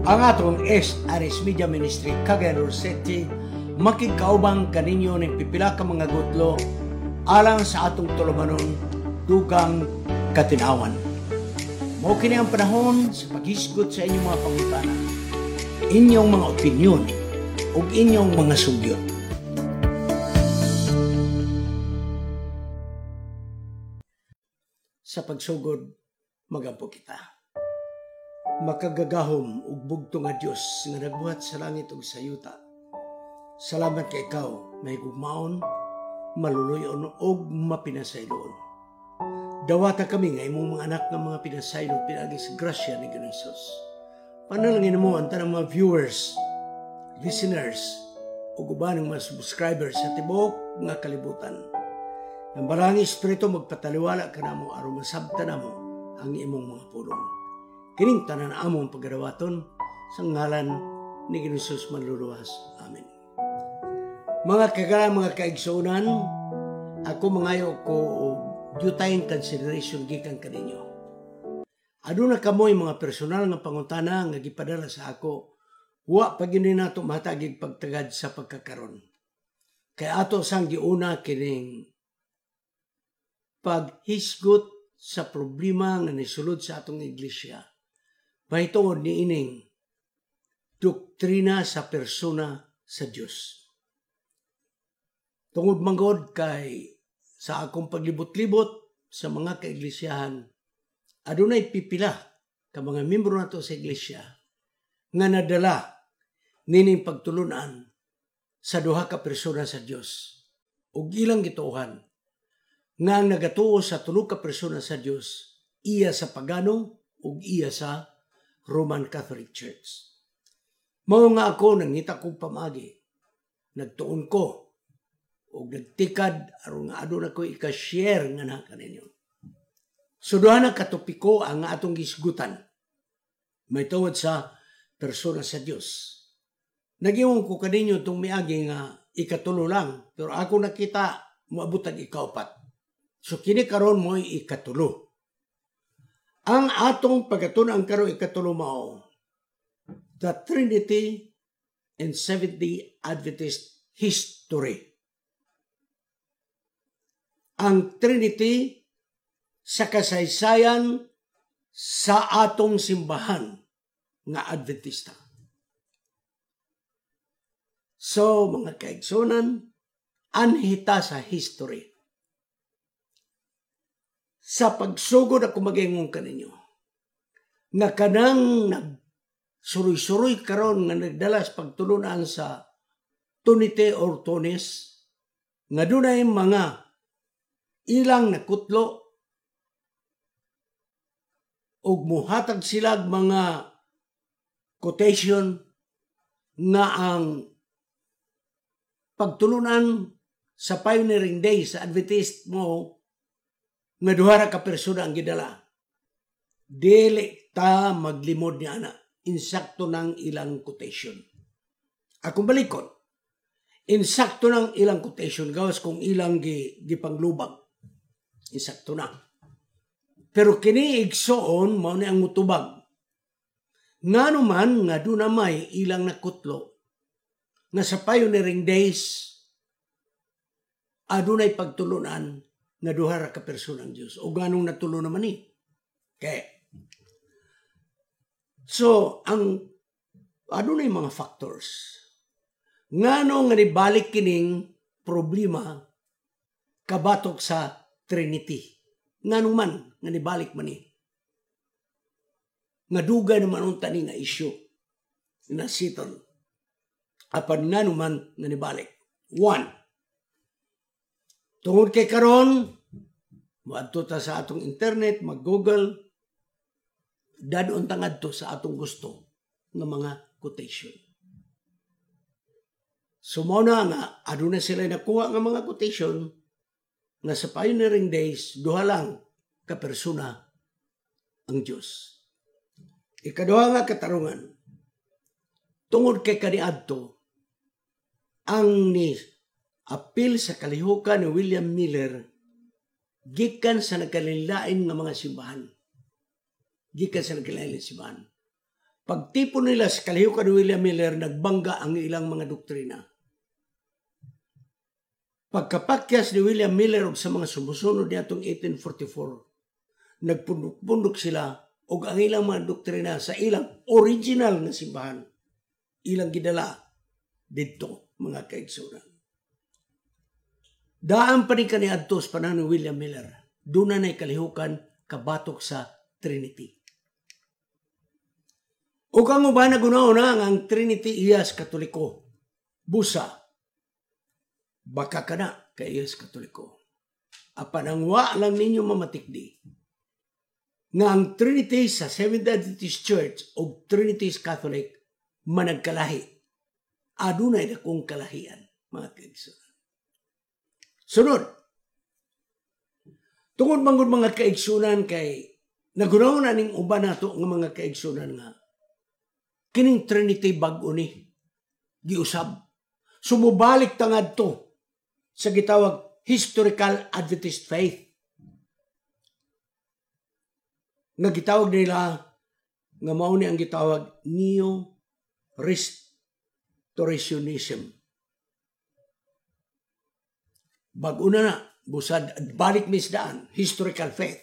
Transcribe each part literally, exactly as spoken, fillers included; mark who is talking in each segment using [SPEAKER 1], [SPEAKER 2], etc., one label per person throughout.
[SPEAKER 1] Ang atong S R S Media Ministry Cagayan City makigkaubang kaninyo ning pipila ka mga gutlo alang sa atong tulumanon dugang katinawan. Mao kini ang panahon sa paghisgot sa inyong mga pangutana, inyong mga opinyon ug inyong mga sugyot. Sa pagsugod, magampo kita. Makagagahom ug bugto nga Dios nga nagbuhat sa langit ug sa yuta. Salamat kay ikaw mahigugmaon, maluluyon ug mapinasayloon. Dawata kami nga imong mga anak nga mga pinasaylo pinaagi sa grasya ni Ginoong Hesus. Panalangin mo ang tanang mga viewers, listeners ug uban mga subscribers sa tibuok nga kalibutan. Ang Balaang Espiritu magpataliwala kanamo aron masabtan namo ang imong mga pulong. Kining tanan among pagadawaton sa ngalan ni Ginoong Hesus manluluwas. Amen. Mga kagala, mga kaigsuonan, ako mangayo ko og due time consideration gikan kaninyo. Aduna kamoy mga personal nga pangutana nga gipadala sa ako, wa pa gyud nato matagig pagtagad sa pagkakaron. Kay ato sang giuna kining paghisgot sa problema nga nisulod sa atong iglesia mahitungod niining doktrina sa persona sa Dios. Tungod manggod kay sa akong paglibot-libot sa mga kaiglisyahan, adunay pipila ka mga membro nato sa iglesia nga nadala nining pagtulunan sa duha ka persona sa Dios. Ug ilang gituohan nga ang nagatuo sa tulo ka persona sa Dios iya sa pagano ug iya sa Roman Catholic Church. Mao nga ako nangita kong pamagi, nagtuon ko ug nagtikad aron nga aduna ko ika-share nga na kaninyo. So duha na katopiko ang atong gisgutan may tungod sa persona sa Dios. Nag-ingon ko kaninyo itong miagi nga ikatulo lang, pero ako nakita moabot ang ikaupat. So kini karon mo'y ikatulo. Ang atong pagkatun-an karon ikatulo mao, The Trinity in Seventh-day Adventist History. Ang Trinity sa kasaysayan sa atong simbahan nga Adventista. So mga kaigsunan, anhita sa history. Sa pagsugod ako mag-ingon kaninyo nga kanang nagsuroy-suroy karon nga nagdala sa pagtulunan sa Tunite or Tunis, nga dunay mga ilang nakutlo ug muhatag sila mga quotation nga ang pagtulunan sa pioneering days sa Adventist mo nga duha ra ka persona ang gidala. Dili ta maglimod ni ana. Insakto ng ilang quotation. Akong balikon. Insakto ng ilang quotation gawas kung ilang gi, gipanglubag. Insakto na. Pero kini igsoon mao ni ang mutubag. Ngano man nga duna may ilang nakutlo nga sa pioneering days adunay pagtulunan nga duha ra ka persona ang Dios. O ganong natulo naman ni. Kay so ang adunay mga factors ngano nga nibalik kining problema kabatok sa Trinity. Ngano man nga nibalik man ni. Nga dugay naman unta ni nga issue na settle. Apan ngano man nga nibalik. One, tungod kay karon moadto ta sa atong internet, mag-Google, dadon ta ngadto sa atong gusto nga mga quotation. So mao na nga aduna sila nakuha nga mga quotation nga sa pioneering days duha lang ka persona ang Dios. Ikaduha nga katarungan, tungod kay kaniadto ang ni apil sa kalihukan ni William Miller gikan sa nagkalain nga mga simbahan. Gikan sa nagkalain simbahan. Pagtipon nila sa kalihukan ni William Miller, nagbangga ang ilang mga doktrina. Pagkapakyas ni William Miller ug sa mga sumusunod niadtong eighteen forty-four, nagpundok-pundok sila og ang ilang mga doktrina sa ilang original nga simbahan. Ilang gidala didto, mga kaigsunan. Daan pa ni kaniadto sa panahon ni William Miller. Doon na kalihukan kabatok sa Trinity. Ug ang uban naguna-una nga ang Trinity iyas Katoliko. Busa, baka kana kay iyas Katoliko. Apan ang wa lang ninyo mamatikdi nga ang Trinity sa Seventh Adventist Church o Trinity Catholic managkalahi. Adunay dakong kalahian, mga kaigsunan. Sunod, tungod manggod, mga kaigsunan, kay nagunaw na ning uban nato nga mga kaigsunan nga kining Trinity bag-o ni giusab. Sumubalik ta ngadto sa gitawag historical Adventist faith nga gitawag nila nga mao ni ang gitawag Neo Restorationism. Bag-o na na, busad balik mis daan, historical faith.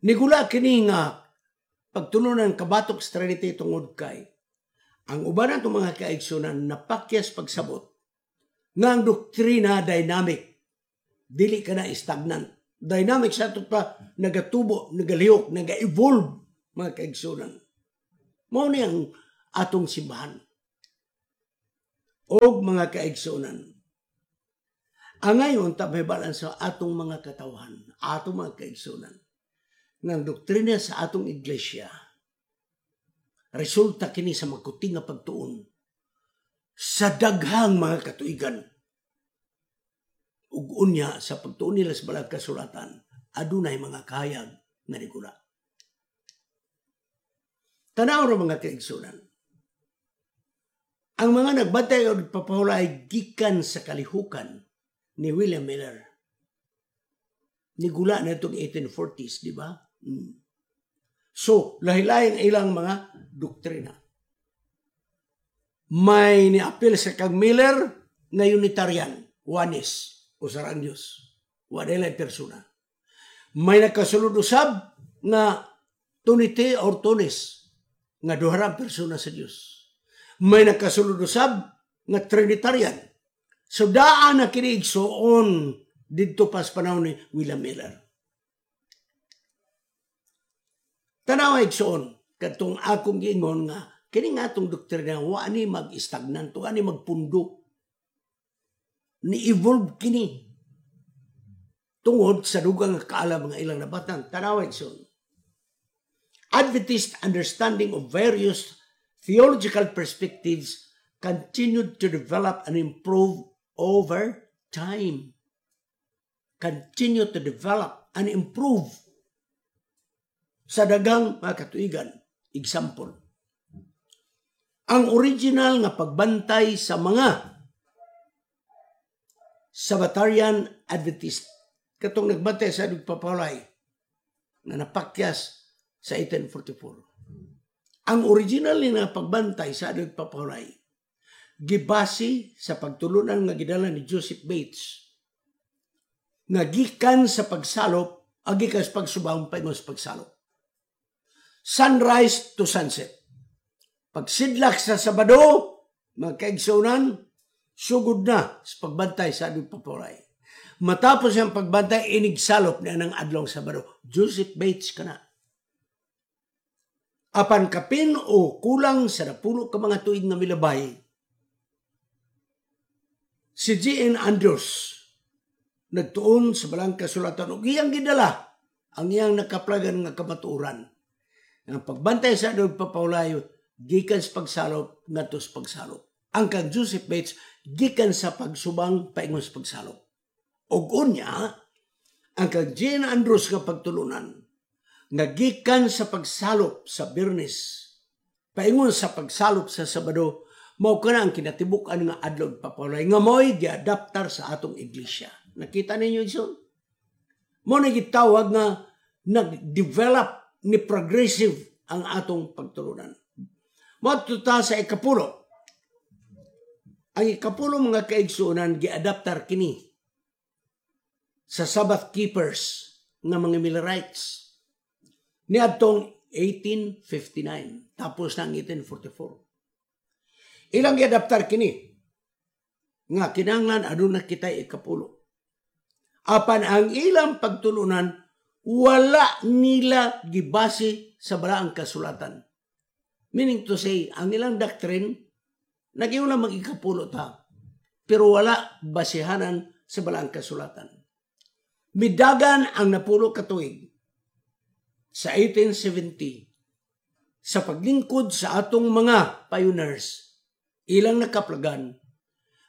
[SPEAKER 1] Nigula kini nga pagtulunan kabatok sa Trinity tungod kay ang uban natong mga kaigsunan napakyas pagsabot nga ang doktrina dynamic, dili ka na stagnant. Dynamic sa ato pa, nagatubo, nagalihok, naga-evolve, mga kaigsunan. Mao ni ang atong simbahan. Og mga kaigsunan, ang ngayon tabibalan sa atong mga katawhan, atong mga kaigsunan, ng doktrina sa atong iglesia, resulta kini sa makuting nga pagtuon sa daghang mga katuigan. Ug unya sa pagtuon nila sa balag kasulatan, adunay mga kahayag nga nigula. Tanaw ra, mga kaigsunan. Ang mga nagbantay og papahulay gikan sa kalihukan ni William Miller. Nigula na itong eighteen forties, di ba? Mm. So, lahi-lahi ang ilang mga doktrina. May niapil sa kang Miller nga Unitarian, Oneness, usa ra ang Diyos. Wala nila persona. May nakasulod usab nga Trinity or Twoness, nga duha ra persona sa Dios. May nakasulod usab nga Trinitarian. So daan na kini, igsuon, didto pa sa panahon ni William Miller. Tanawa, igsuon, katong akong giingon nga kini nga atong doktrina wa ni mag-stagnant, wa ni magpundo. Ni-evolve kini tungod sa dugang nga kaalam nga ilang nabatan. Tanawa, igsuon. Adventist understanding of various theological perspectives continued to develop and improve over time. Continue to develop and improve sa dagang mga katuigan. Example, ang original nga pagbantay sa mga Sabbatarian Adventist katong nagbantay sa nagpapalay na napakyas sa eighteen forty-four. Ang original nga pagbantay sa nagpapalay gibase sa pagtulunan nga gidala ni Joseph Bates nga gikan sa pagsalop, agi sa pagsubang paingon sa pagsalop. Sunrise to sunset. Pagsidlak sa Sabado, mga kaigsunan, sugod na sa pagbantay sa nagpapalay. Matapos ang pagbantay, inigsalop niya ng adlong Sabado. Joseph Bates kana. Apan kapin o kulang sa napulo ka mga tuig nga milabay, si G N. Andrews nagtuon sa balang kasulatan ug iyang gidala ang iyang nakaplagan nga kamatuoran. Ang pagbantay sa nagpapawlayo gikan sa pagsalop ngadto sa pagsalop. Ang kang Joseph Bates gikan sa pagsubang paingon sa pagsalop. Ug unya, ang kang G N. Andrews nga pagtulunan nga gikan sa pagsalop sa Biyernes paingon sa pagsalop sa Sabado, mao kana ang kinatibuk-an nga adlaw papawlay nga mo'y giadaptar sa atong iglesia. Nakita ninyo, igsoon? Mo na gitawag nga nag-develop, ni progressive ang atong pagtulunan. Moadto ta sa ikapulo. Ang ikapulo, mga kaigsuonan, giadaptar kini sa Sabbath keepers nga mga Millerites. Niadtong eighteen fifty-nine, tapos na ang eighteen forty-four. Ilang giadaptar kini nga kinahanglan aduna kita ikapulo. Apan ang ilang pagtulunan, wala nila gibase sa balaang kasulatan. Meaning to say, ang ilang doctrine, nag-ingon lang mag-ikapulo ta, pero wala basihanan sa balaang kasulatan. Midagan ang napulo katuig sa eighteen seventy sa paglingkod sa atong mga pioneers, ilang nakaplagan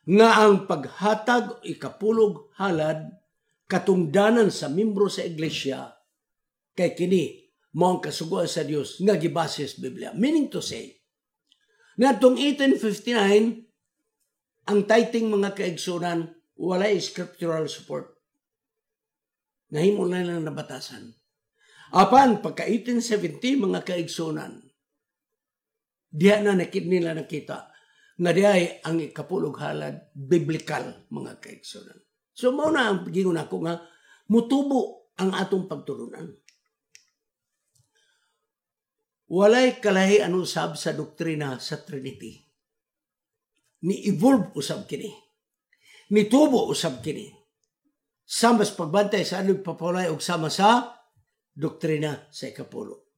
[SPEAKER 1] nga ang paghatag ikapulog halad katungdanan sa membro sa iglesia kay kini mao ang kasuguan sa Dios nga gibase sa Biblia. Meaning to say, ngadtong eighteen fifty-nine, ang tithing, mga kaigsunan, walay scriptural support. Nahimo na lang nabatasan. Apan pagka eighteen seventy, mga kaigsunan, diha na nakit nila nakita nga diay ang ikapulog halad biblical, mga kaigsunan. So mao na ang gingon ako nga mutubo ang atong pagtulunan. Walay kalahi usab sa doktrina sa Trinity. Ni-evolve usab kini. Nitubo usab kini. Sama sa pagbantay sa adlaw pagpapawalay og sama sa doktrina sa ikapulo.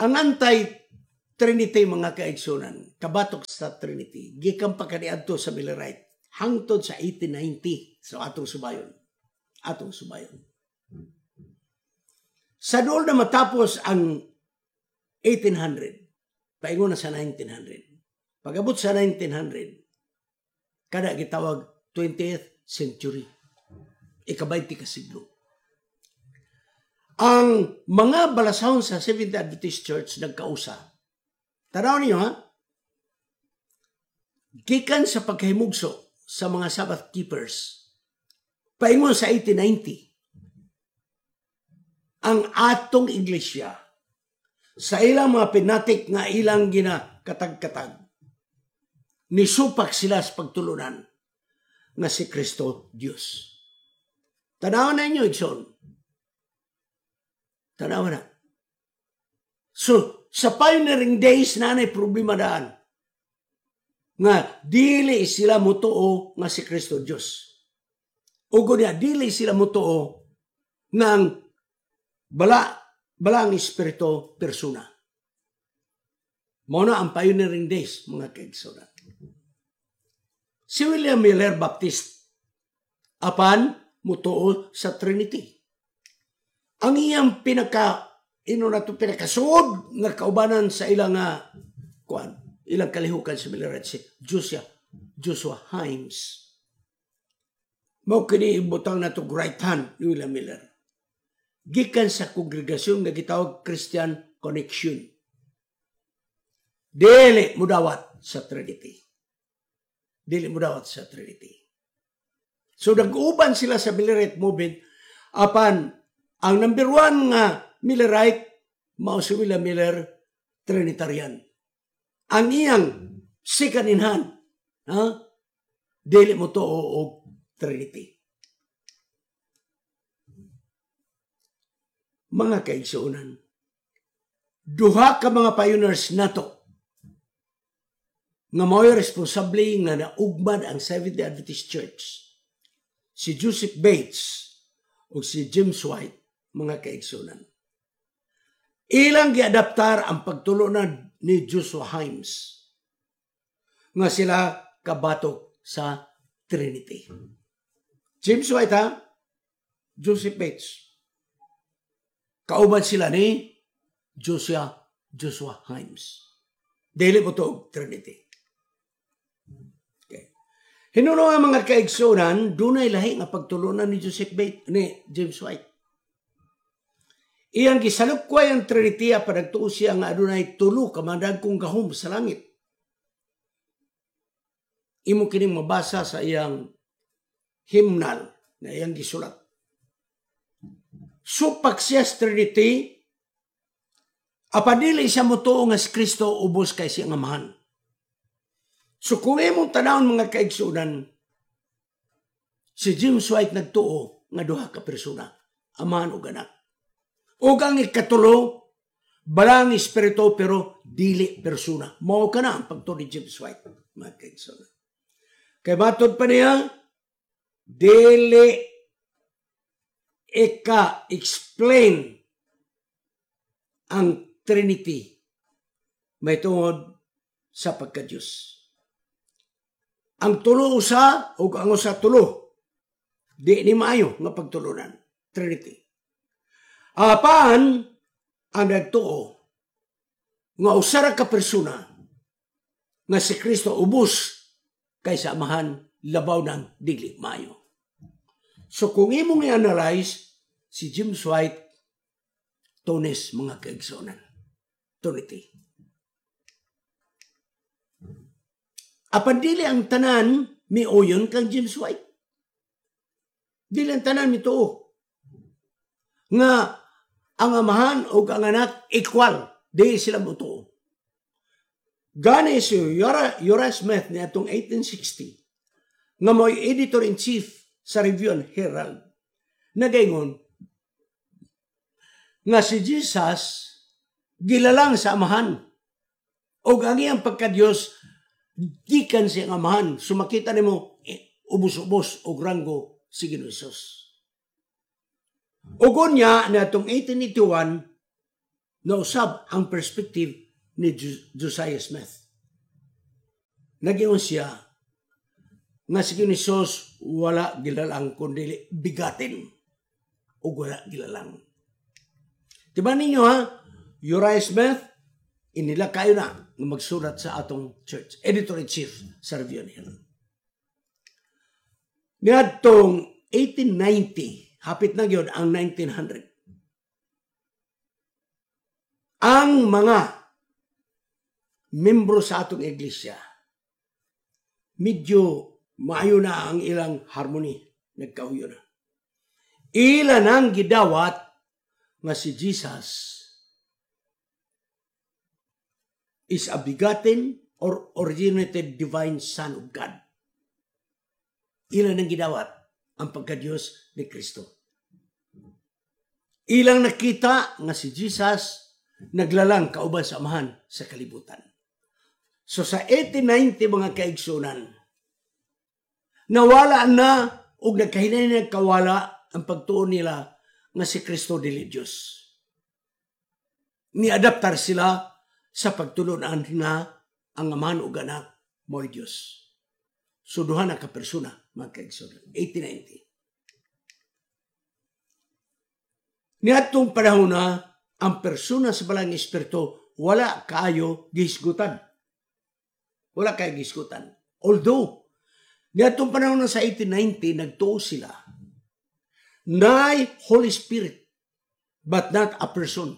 [SPEAKER 1] Ang anti-Trinity, mga kaigsunan, kabatok sa Trinity, gikan pa kaniadto sa Millerite, hangtod sa eighteen ninety sa atong subayon. Atong subayon. Sa dool na matapos ang eighteen hundred, paingon na sa nineteen hundred. Pag-abot sa nineteen hundred, kada gitawag twentieth century. Ikabaynte ka siglo. Ang mga balasahon sa Seventh Adventist Church nagkausa. Tanaw niyo ha? Gikan sa pagkahimugso sa mga Sabbath keepers, paingon sa eighteen ninety, ang atong iglesia sa ilang mga pinatik nga ilang ginakatag-katag, nisupak sila sa pagtulunan nga si Kristo Diyos. Tanaw na inyo, igsoon. Tanaw na. So, sa pioneering days na nay problema daan nga dili sila mutuo nga si Kristo Diyos. Ugo niya, dili sila mutuo nga ang bala, bala ang Espiritu persona. Mao na ang pioneering days, mga kaigsunan. Si William Miller, Baptist, apan mutuo sa Trinity. Ang iyang pinaka ino na to pinakasuod nga kaubanan sa ilang uh, kuan, ilang kalihukan sa Millerite, si Joshua Joshua Himes. Mao kini ibutang nato right hand ni William Miller. Gikan sa kongregasyon nga gitawag Christian Connection. Dili mudawat sa Trinity. Dili mudawat sa Trinity. So nag-uban sila sa Millerite movement, apan ang number one nga Millerite mao si William Miller, Trinitarian. Ang iyang second in hand, ha? Dili mo to og Trinity. Mga kaigsuonan, duha ka mga pioneers nato nga mao'y responsable nga naugmad ang Seventh-day Adventist Church. Si Joseph Bates o si James White, mga kaigsunan. Ilang giadaptar ang pagtulunan ni Joshua Himes nga sila kabatok sa Trinity. James White ha, Joseph Bates. Kauban sila ni Joshua, Joshua Himes. Dili mo to Trinity. Okay. Hinuno nga, mga kaigsunan, dunay lahi nga pagtulunan ni Joseph Bates, ni James White. Iyang gisalukway ang Trinity apan nagtuo siya nga adunay tulo ka madagkong gahom sa langit. Imo kining mabasa sa iyang hymnal na iyang gisulat. Supak siya sa Trinity, apan dili siya motuo nga si Kristo ubos kay siyang Amahan. So kung imong tanawon, mga kaigsunan, si James White nagtuo nga duha ka persona, Amahan ug Anak. Ug ang ikatulo, Balang Espiritu, pero dili persona. Mao kana ang pagtuo ni James White, mga kaigsunan. Kay matod pa niya, dili ika-explain ang Trinity may tungod sa pagka-Diyos. Ang tulo usa o ang usa tulo, di ni maayo nga pagtulunan. Trinity. Apan, ang nagtuo nga usa ra ka persona nga si Kristo ubos kay sa Amahan, labaw ng dili maayo. So kung imong i-analyze si James White, Tones, mga kaigsunan. Trinity. Apan dili ang tanan miuyon kang James White. Dili ang tanan mituo nga ang Amahan o ang Anak equal. Di sila motuo. Gani si Uriah, Uriah Smith ni atong eighteen sixty nga mo'y editor-in-chief sa Review and Herald, nagaingon nga si Jesus gilalang sa Amahan o ang iyang pagka-Diyos gikan sa Amahan. Sumakita nimo, eh, ubos-ubos og ranggo si Ginoo Hesus. Ug unya na atong eighteen eighty-one, nausab ang perspective ni Josiah Smith. Nagingon siya nga si Ginoo Hesus wala gilalang kundi begotten ug wala gilalang. Diba ninyo ha? Uriah Smith, inila kayo na nga magsulat sa atong church. Editor-in-chief sa Review and Herald. Niadtong eighteen ninety, hapit na gyud ang nineteen hundred. Ang mga membro sa atong iglesia, medyo maayo na ang ilang harmony, nagkauyo na. Ila nang gidawat nga si Jesus is a begotten or originated divine Son of God. Ila nang gidawat ang pagka-Diyos ni Kristo. Ilang nakita nga si Jesus naglalang kauban sa Amahan sa kalibutan. So sa eighteen ninety, mga kaigsunan, nawala na og nagkahinay nagkawala ang pagtuo nila nga si Kristo dili Diyos. Ni-adaptar sila sa pagtulunan nga ang Amahan ug Anak mo'y Diyos. So duha na ka persona, mga kaigsunan. eighteen ninety. Niadtong panahon na ang persona sa Balang Espiritu wala kaayo gihisgutan. Wala kaayo gihisgutan. Although, niadtong panahon na sa eighteen ninety, nagtuo sila nay Holy Spirit, but not a person.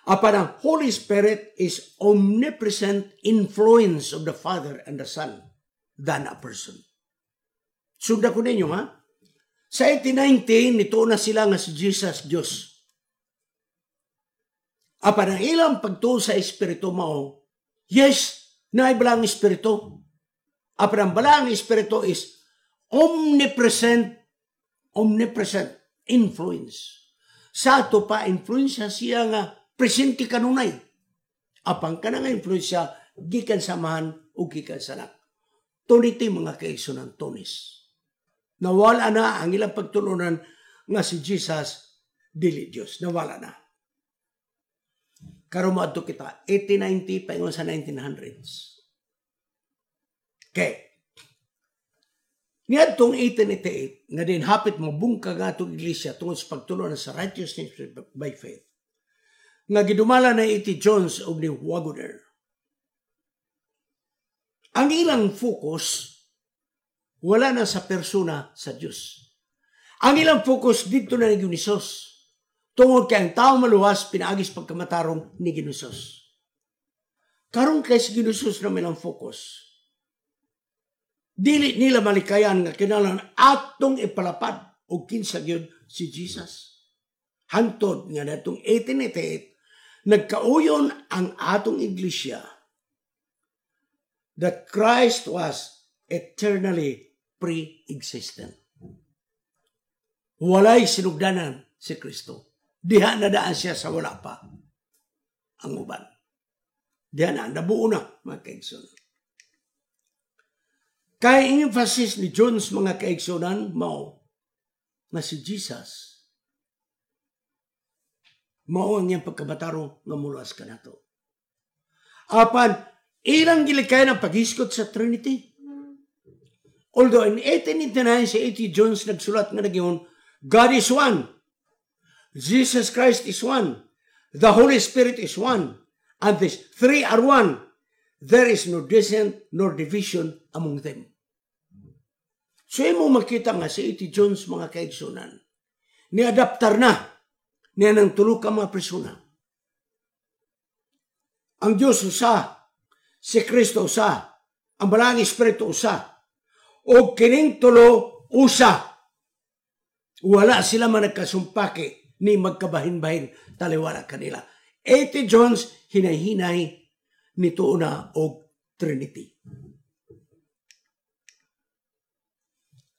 [SPEAKER 1] Apan ang Holy Spirit is omnipresent influence of the Father and the Son than a person. Sunda ko ninyo, ha? Sa eighteen ninety, nituo na sila nga si Jesus Diyos. Apan ang ilang pagtuo sa Espiritu mao, yes, naay Balang Espiritu. Apan ang Balang Espiritu is omnipresent, omnipresent influence. Sa ato pa, influensya siya nga presente kanunay. Apan kana nga influensya gikan sa Amahan o gikan sa Anak. Trinity, mga kaigsunan, tonis. Nawala na ang ilang pagtulunan nga si Jesus dili Diyos. Nawala na. Karon moadto kita eighteen ninety paingon sa nineteen hundreds. Okay. Niadtong eighteen eighty-eight, nga din hapit mabungkag nga atong iglesia tungod sa pagtulunan sa righteousness by faith, nga gidumala na A T. Jones ug ni Waggoner. Ang ilang focus wala na sa persona sa Dios. Ang ilang focus dito na ni Hesus. Tungod kay ang tao maluwas pinaagi sa pagkamatarong ni Hesus. Karon kay si Hesus na ilang focus. Dili nila malikayan nga kinahanglan atong ipalapad og kinsa gyud si Jesus. Hantod nga natong eighteen eighty-eight, nagkauyon ang atong iglesia that Christ was eternally pre-existent. Walay sinugdanan si Kristo. Diha na daan siya sa wala pa ang uban. Diha na, nabuo na, mga kaigsunan. Kay emphasis ni Jones, mga kaigsunan, mao nga si Jesus mao ang iyang pagkabatarong nga muluwas kanato. Apan, ilang gilikay ng paghisgot sa Trinity. Although in eighteen eighty-nine si A T. Jones nagsulat nga nagyon, "God is one. Jesus Christ is one. The Holy Spirit is one. And these three are one. There is no dissent nor division among them." So imo makita nga si A T. Jones, mga kaigsunan, ni adaptar na niya ng tulo ka mga persona. Ang Diyos usa, si Kristo usa, ang Balaang Espiritu usa, o kining tulo usa. Wala sila man nagkasumpaki ni magkabahin-bahin taliwala kanila. A T. Jones hinay-hinay nituo na og Trinity.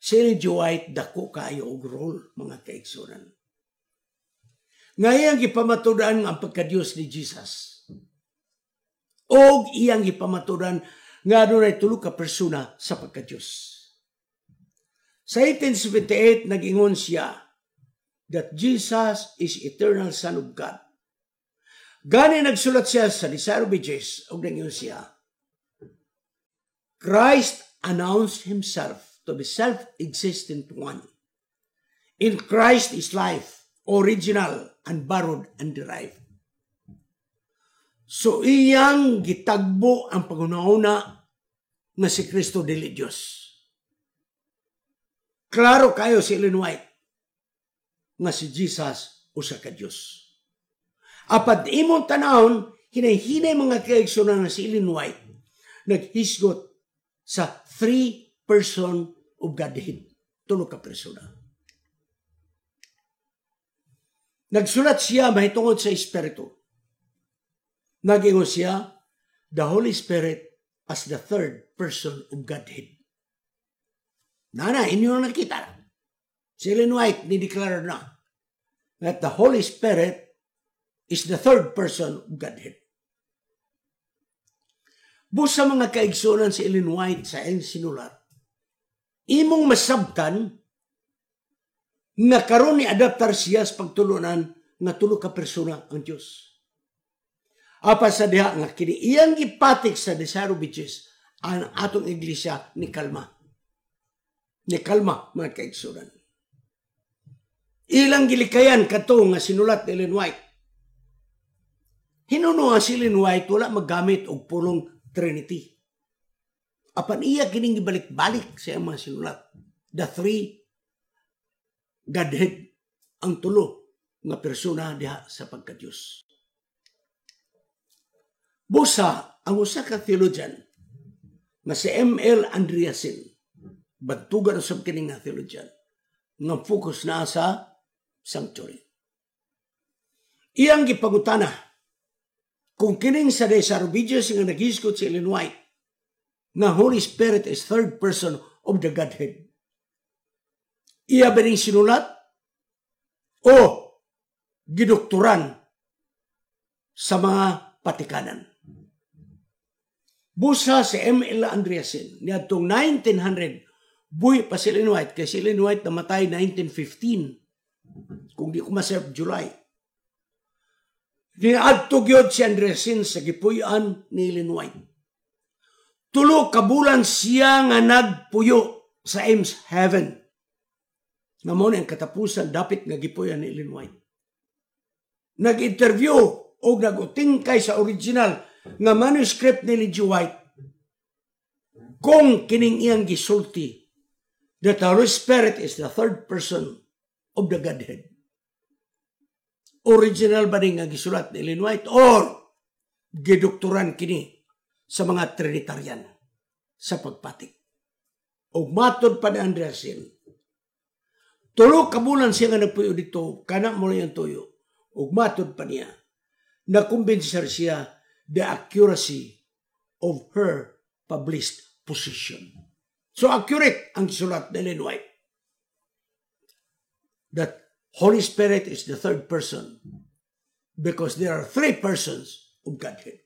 [SPEAKER 1] Si Ellen G. White dako kaayo og role, mga kaigsunan. Nga iyang gipamatudan ang pagkadiyos ni Jesus. Og iyang gipamatudan nga adunay tulo ka persona sa pagkadiyos. Sa eighteen seventy-eight nag-ingon siya that Jesus is eternal Son of God. Gani nagsulat siya sa Desire of Ages og nag-ingon siya, "Christ announced himself to be self-existent one. In Christ is life, original, unborrowed, and derived." So iyang gitagbo ang panghuna nga si Kristo dili Dios. Klaro kayo si Ellen White nga si Jesus usa ka Dios. Apan imong tanawon, hinay-hinay, mga kaigsunan, nga si Ellen White naghisgot sa three person of Godhead. Tulo ka persona. Nagsulat siya mahitungod sa Espiritu. Nagingon siya, "The Holy Spirit as the third person of Godhead." Nana, inyo na nakita. Si Ellen White ni-declare na that the Holy Spirit is the third person of Godhead. Busa, mga kaigsunan, si Ellen White sa iyang sinulat, imong masabtan nga karon ni adaptar siya sa pagtulunan nga tulo ka persona ang Dios. Apa sa diha nga kini iyang gipatik sa Desire of Ages, ang atong iglesia ni kalma. Ni kalma, mga kaigsunan. Ilang gilikayan kadto nga sinulat ni Ellen White. Hinuno si Ellen White wala maggamit og pulong Trinity. Apan iya kining gibalik-balik sa iyang mga sinulat. The three Godhead, ang tulo nga persona diha sa pagka-Diyos. Busa, ang usa ka theologian nga si M L. Andreasen, bantugan usab kini nga theologian, nga focus na sa sanctuary. Iyang gipangutana kung kining sa Desire of Ages nga naghisgot si Ellen White nga Holy Spirit is third person of the Godhead. Iya ba ning sinulat o gidoktoran sa mga patikanan? Busa si M L. Andreasen, niadtong nineteen hundred, buhi pa si Ellen White, kay si Ellen White namatay nineteen fifteen, kung di ko maserve, July. Niadto gyud si Andreasen sa gipuy-an ni Ellen White. Tulo ka bulan siya nga nagpuyo sa Eemshaven. Nga mao ang katapusan dapit nga gipuy-an ni Ellen White. Nag-interview o nag-utingkay sa original nga manuscript ni Ellen G. White kung kining iyang gisulti that the Holy Spirit is the third person of the Godhead. Original ba ni nga gisulat ni Ellen White or gidoktoran kini sa mga Trinitarian sa pagpatik? O matod pa ni Andreasen, Tulo ka bulan siya nga nagpuyo dito, kana mo na yung tuyo. Ug matud pa niya, nakumbensar siya the accuracy of her published position. So accurate ang sulat ni Ellen White. That Holy Spirit is the third person because there are three persons of Godhead.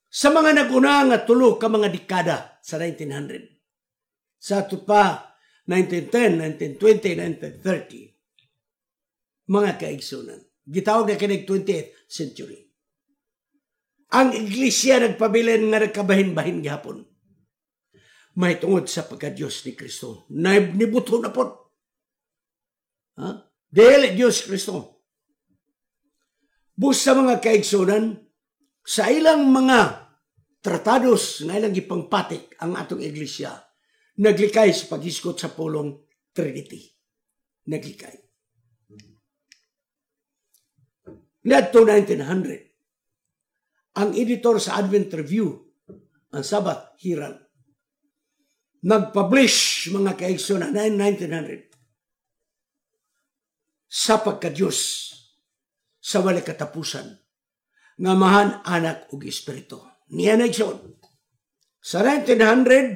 [SPEAKER 1] Sa mga nag-una nga tulo ka mga dekada sa nineteen hundred, sa ato pa nineteen ten, nineteen twenty, nineteen thirty, mga kaigsunan, gitawag na kinig twentieth century. Ang iglesia nagpabilin nga nagkabahin-bahin gihapon. May tungod sa pagka-Diyos ni Kristo. Nibuto na po. Ha? Dili Diyos Kristo. Busa mga kaigsunan, sa ilang mga tratados nga ilang gipangpatik ang atong iglesia, naglikay sa paghisgot sa pulong Trinity. Naglikay. Ngadto nineteen hundred, ang editor sa Advent Review, ang Sabbath Herald, nagpublish mga kaigsunan nineteen hundred sa pagka-Diyos sa walay katapusan nga mahan, anak ug espiritu. Niya na igsoon. Sa nineteen hundred,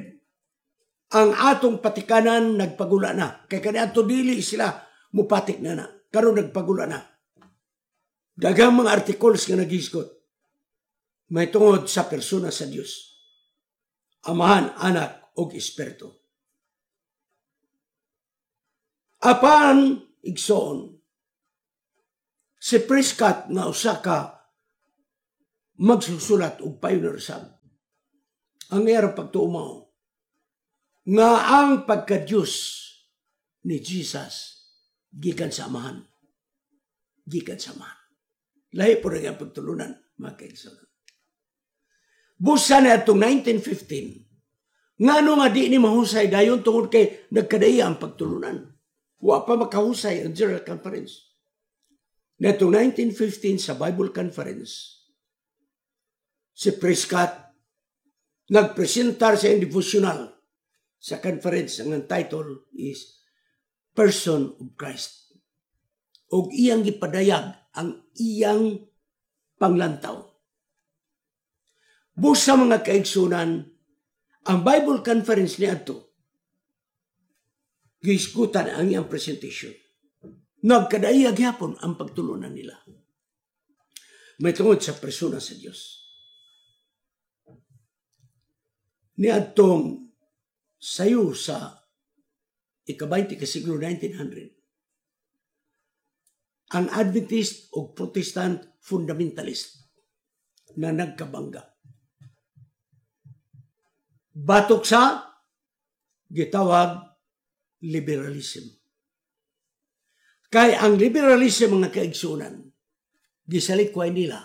[SPEAKER 1] ang atong patikanan nagpagula na. Kay kaniadto dili sila mupatik na na. Karon nagpagula na. Daghang mga articles nga naghisgot may tungod sa persona sa Dios. Amahan, anak ug espiritu. Apan igsoon, si Prescott nga usa ka magsusulat og pioneer sab. Ang iyang pagtuo mao nga ang pagka-Dios ni Jesus gikan sa Amahan. Gikan sa Amahan. Lahi po rin ang pagtulunan, mga kaigsuonan. Busa na itong nineteen fifteen, ngano nga di ni mahusay dayon tungod kay nagkadaya ang pagtulunan. Wa pa makahusay ang General Conference. Netong nineteen fifteen sa Bible Conference, si Prescott nagpresentar sa devotional sa conference. Ang title is Person of Christ. Og iyang gipadayag ang iyang panglantaw. Busa mga kaigsunan, ang Bible Conference ni adto gisgutan ang iyang presentation. Nagkadaiya gyapon ang pagtulunan nila. May tungod sa persona sa Dios. Niadtong sayo sa ikabaynte ka siglo nineteen hundred, ang Adventist o Protestant fundamentalist na nagkabangga. Batok sa gitawag liberalism. Kay ang liberalism mga kaigsunan, gisalikway nila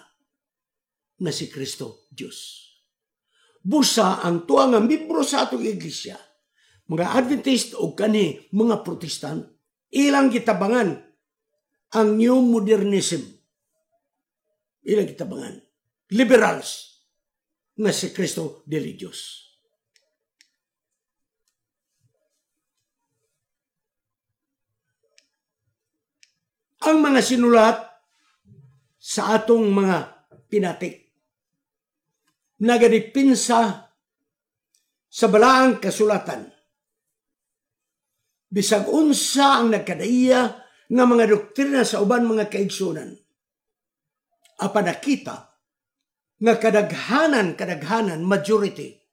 [SPEAKER 1] na si Kristo Diyos. Busa ang tuwa nga miyembro sa atong iglesia, mga Adventist o kani mga Protestant, ilang gitabangan ang New Modernism. Ilang gitabangan. Liberals nga si Kristo dili Diyos. Ang mga sinulat sa atong mga pinatik nagadipinsa sa balaang kasulatan. Bisag unsa ang nagkadaiya nga mga doktrina sa uban mga kaigsunan, apan nakita nga kadaghanan, kadaghanan, majority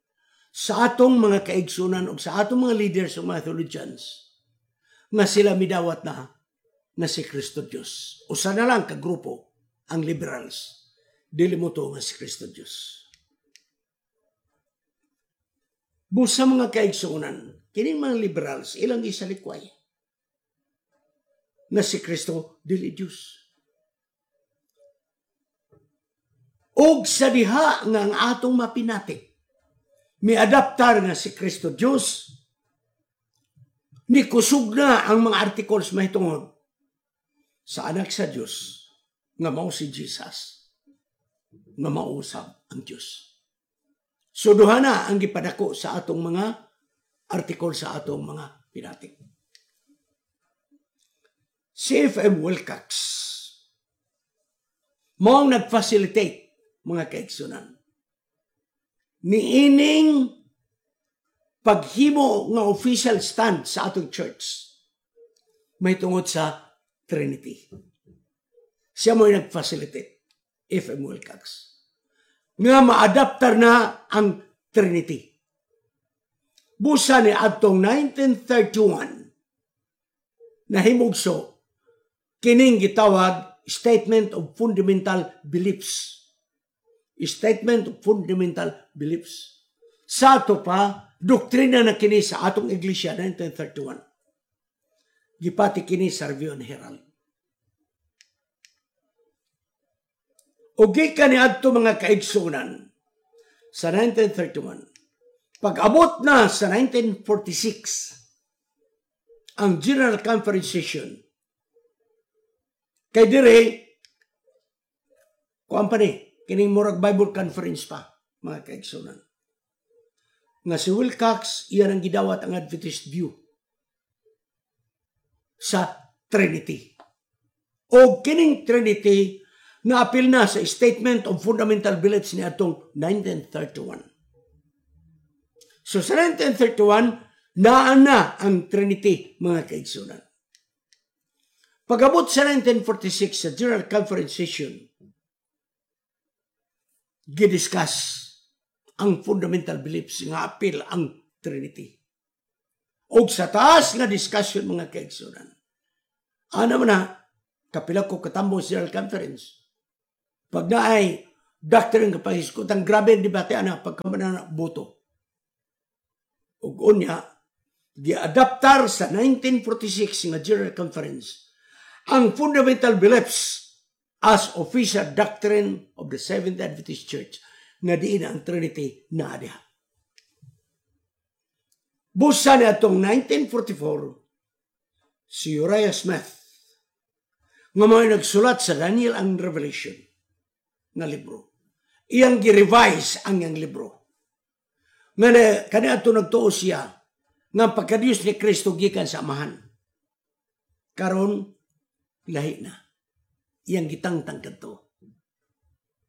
[SPEAKER 1] sa atong mga kaigsunan o sa atong mga leaders o mga theologians nga sila midawat na na si Kristo Diyos. Usa na lang ka grupo ang liberals. Dili mo to nga si Kristo Diyos. Busa mga kaigsunan, kining mga liberals, ilang isalikway na si Kristo dili Diyos. Og sa diha nga ang atong mapinatik, miadaptar nga si Kristo Diyos, ni kusog na ang mga articles mahitungod sa anak sa Diyos nga mao si Jesus, nga mausab ang Diyos. So duha na ang gipadako sa atong mga article sa atong mga pinatik. Si F M. Wilcox mao nag-facilitate, mga kaigsunan, niining paghimo nga official stand sa atong church may tungod sa Trinity. Siya mo nag-facilitate, F M. Wilcox, nga maadaptar na ang Trinity. Busa ni adtong nineteen thirty-one, nahimugso kining gitawag Statement of Fundamental Beliefs. Statement of Fundamental Beliefs. Sa ato pa, doktrina na kini sa atong iglesia nineteen thirty-one. Gipati kini sa Review and Herald. O gikan ni adto, mga kaigsunan, sa nineteen thirty-one, pag-abot na sa nineteen forty-six, ang General Conference Session, kay dire, kuan pa ni, kining murag Bible Conference pa, mga kaigsunan. Nga si Wilcox, iyan ang gidawat ang Adventist view sa Trinity. O kining Trinity, naapil na sa Statement of Fundamental Beliefs ni atong nineteen thirty-one. So sa nineteen thirty-one, naa na ang Trinity, mga kaigsunan. Pag-abot sa nineteen forty-six sa General Conference Session, gidiscuss ang fundamental beliefs nga apil ang Trinity. Og sa taas nga discussion, mga kaigsunan, ana man na, kapila ko katambo sa General Conference. Pag naay doctrine nga pahisgutan, grabe ang debate ana pagkamana boto. Ug unya, giadaptar sa nineteen forty-six nga General Conference ang fundamental beliefs as official doctrine of the Seventh Adventist Church nga diin ang Trinity na diha. Busa ni atong nineteen forty-four, si Uriah Smith nga mga nagsulat sa Daniel and Revelation nga libro. Iyang gi-revise ang iyang libro. Nga na, kani ato nagtuo siya nga pagkadiyos ni Kristo gikan sa Amahan. Karon lahi na. Iyang gitangtang kadto.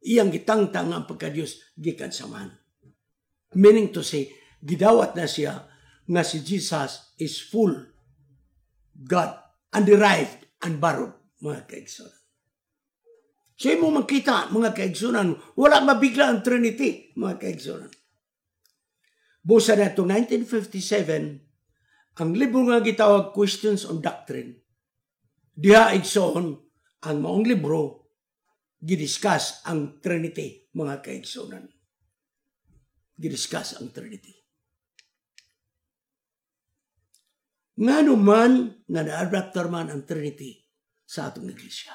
[SPEAKER 1] Iyang gitangtang ang pagkadiyos gikan sa Amahan. Meaning to say, gidawat na siya nga si Jesus is full God, underived and borrowed, mga kaigsunan. So imo makita, mga kaigsunan, wala mabigla ang Trinity, mga kaigsunan. Busa na itong nineteen fifty-seven, ang libro nga gitawag Questions on Doctrine, diha, igsoon, ang maong libro, gidiscuss ang Trinity, mga kaigsunan. Gidiscuss ang Trinity. Ngano man nga na-adaptar man ang Trinity sa atong iglesia?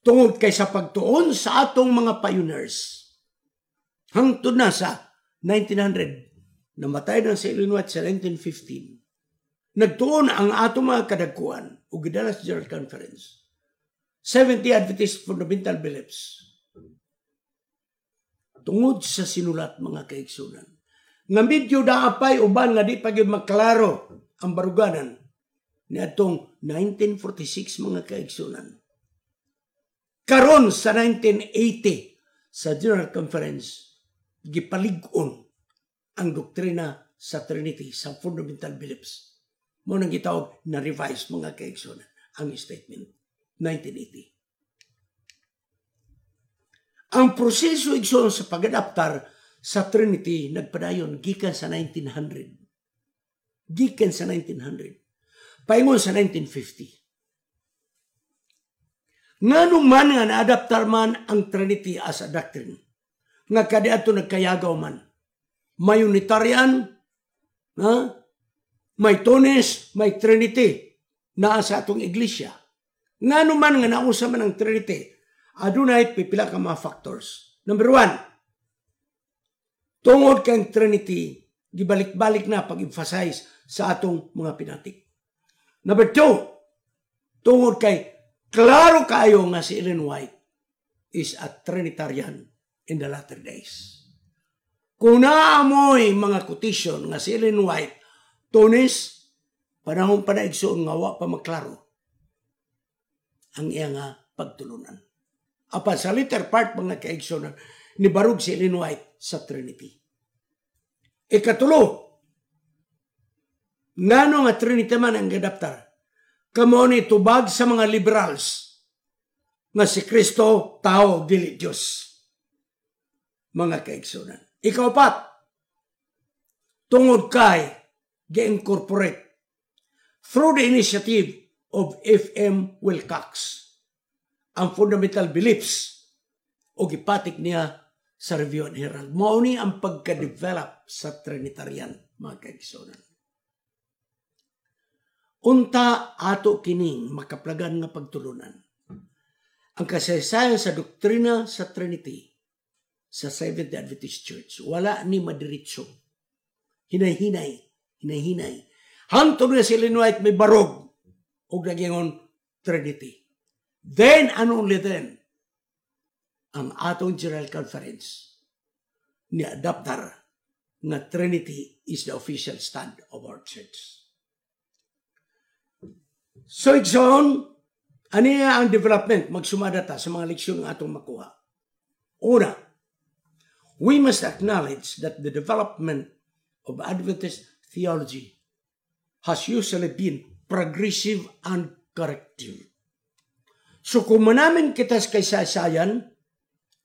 [SPEAKER 1] Tungod kay sa pagtuon sa atong mga pioneers, hangtod na sa nineteen hundred, namatay na si Ellen White sa nineteen fifteen, nagtuon ang atong mga kadagkuan o gidala sa General Conference, seventy Adventist Fundamental Beliefs. Tungod sa sinulat, mga kaigsunan, nga medyo naapay uban nga di pa gyud maklaro ang baruganan niadtong nineteen forty-six, mga kaigsunan. Karon sa nineteen eighty sa General Conference, gipalig-on ang doktrina sa Trinity sa fundamental beliefs. Mo nang gitawag na revise, mga kaigsunan, ang statement nineteen eighty. Ang proseso, igsoon, sa pag-adaptar sa Trinity nagpadayon gikan sa nineteen hundred. Gikan sa nineteen hundred. Paingon sa nineteen fifty. Ngano man nga naadaptar man ang Trinity as a doctrine? Nga kadiadto nagkayagaw man. May Unitarian, ha? May Tonist, may Trinity naa sa atong iglesia. Ngano man nga nausa man ang Trinity? Adunay pipila ka mga factors. Number one, tungod kang Trinity, gibalik-balik na pag-emphasize sa atong mga pinatik. Number two, tungod kay klaro kayo nga si Ellen White is a Trinitarian in the latter days. Kung naamoy mga quotation nga si Ellen White Tunes, panahon pa na, igsoon, nga wa pa maklaro ang iya nga pagtulunan. Apan sa later part, mga kaigsoon, nibarog si Ellen White sa Trinity. Ikatulo, ngano nga Trinity man ang gadaptar? Kamo ni tubag sa mga liberals nga si Kristo tao, dili Diyos. Mga kaigsunan. Ikaupat, tungod kay gi-incorporate through the initiative of F M. Wilcox ang fundamental beliefs o gipatik niya sa Review and Herald. Mao ni ang pagka-develop sa Trinitarian, mga kaigsunan. Unta ato kining makaplagan nga pagtulunan. Ang kasaysayan sa doktrina sa Trinity sa Seventh-day Adventist Church, wala ni madiretso. Hinay-hinay, hinay-hinay. Hangtod nga si Ellen White may barog og nagingon Trinity. Then and only then, ang atong General Conference ni adaptar nga Trinity is the official stand of our church. So, igsoon, aniya ang development, magsumada ta sa mga leksyon nga atong makuha. Una, we must acknowledge that the development of Adventist theology has usually been progressive and corrective. So kung manamin kita sa kasaysayan,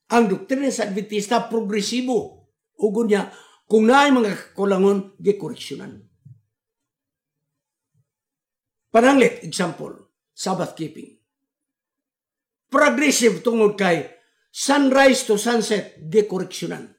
[SPEAKER 1] ang doktrina sa Adventista progresibo. Ugon niya, kung naay mga kakulangon, gikoreksyonan. Pananglit, example, Sabbath keeping. Progressive tungod kay sunrise to sunset, gikoreksyonan.